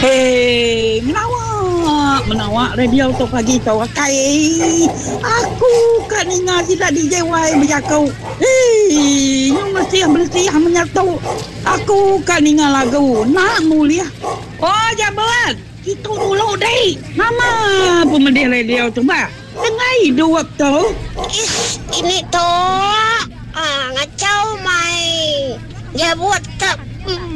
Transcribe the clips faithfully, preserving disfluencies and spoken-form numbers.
Hei, menawa, menawa radio tu pagi tu akai. Aku ka ninga sida D J Y bejaku. Hei, nyu mesih bersih menyatu. Aku ka ninga lagu nak mulih. Oh, jabat. Itu dulu deh. Nama pemedih radio tu ba? Tengah hidup tu. Ish, ini tu. Ah, ngacau mai. Jabut tak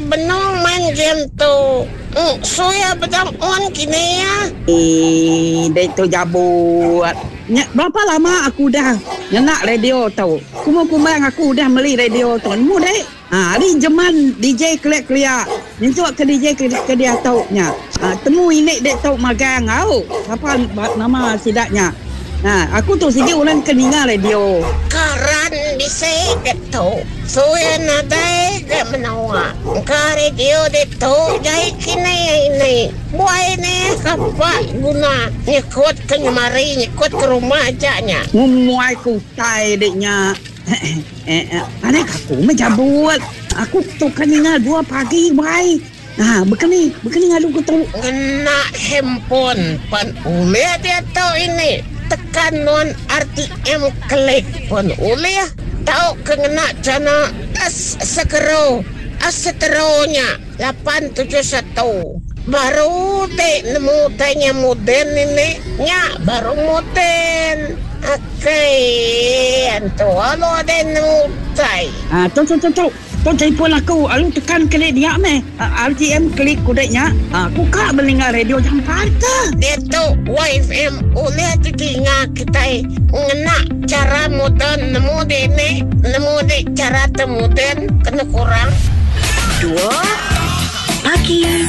benung main game tu. Mm, suya bedang on kini ya. Eh, dek tu jabut. Nya, berapa lama aku dah nyenak radio tu? Kumang-kumang aku dah beli radio tu. Nemu dek. Ha, hari zaman D J keliak-keliak. Nyentuk ke D J ke, ke dia tau nya. Ha, temu ini dek tau magang au. Apa nama sidaknya? Ha, aku tu sigi orang keninga radio. Karan bisa dek tu. Suya nadai dek menawa. Ka radio dek tu jai kini ini. Buai ni kapak guna nyekut ke nyemari nyekut ke rumah aja nya. Ngumuai ku tai deknya. Eh, eh, ada aku menjabut. Aku tu kan ingat dua pagi buai. Nah, bekeni, bekeni ngadu ku tu. Ngena handphone pan ulih dia tu ini. Tekan non R T M klik pun ulih. Tau ke ngena cana as sekero as seteronya lapan tujuh satu. Baru dek nemu tanya moden ini nya baru moden. Okey, antu alo ada nemu tai. Ah, tu tu tu tu. Tu telefon aku, alu tekan klik dia meh. R T M klik kudeknya. Ah, aku kak mendengar radio jam empat. Dia tu Y F M oleh telinga kita ngena cara moden nemu de ni, nemu de cara temoden kena kurang. Dua pagi.